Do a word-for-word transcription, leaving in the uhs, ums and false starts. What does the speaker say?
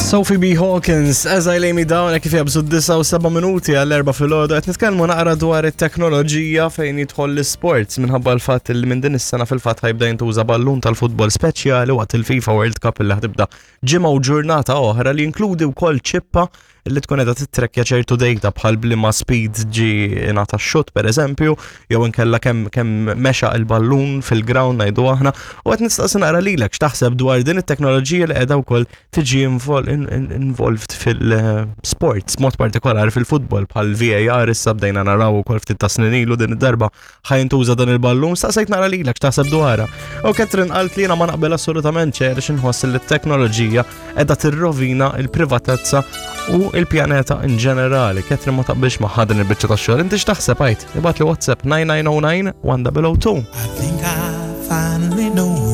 Sophie B. Hawkins, "As I Lay Me Down", kif jaqbżu disgħa u seba' minuti għall-erbgħa filgħodu, qed nitkellmu naqra dwar it-teknoloġija fejn jidħol l-sports minħabba l-fatt li minn din is-sena fil-fatt ħa jibda jintuża ballun tal-futbol speċjali waqt il-FIFA World Cup li ħa tibda ġimgħa u ġurnata oħra, li jinkludi wkoll ċippa li tkun qiegħda titrekkja ċertu data bħal b'liema speed ġi ingħata x-shot, per eżempju, jew inkella kemm kemm mexa il-ballun fil-ground, ngħidu aħna, u qed nistaqsi naqra lilek x'taħseb dwar din it-teknoloġija li qiegħda wkoll tiġi invol- in- in- involved fil-sports, mod partikolari fil-futbol, bħal V A R issa bdejna naraw ukoll ftit ta' snin ilu. Din id-darba ħa jintuża dan il-ballun, staqsejt naqra lilek x'taħseb dwarha. U Catherine qalt li jiena ma naqbel assolutament xejn għax inħoss li t-teknoloġija qiegħda tirrovina il-privatezza u il-pjaneta in ġenerali. Catherine ma taqbilx ma' din il-biċċa ta' xogħol. Inti x'taħseb, għid? Ibgħatli WhatsApp nine nine zero nine one zero zero two. I think I finally know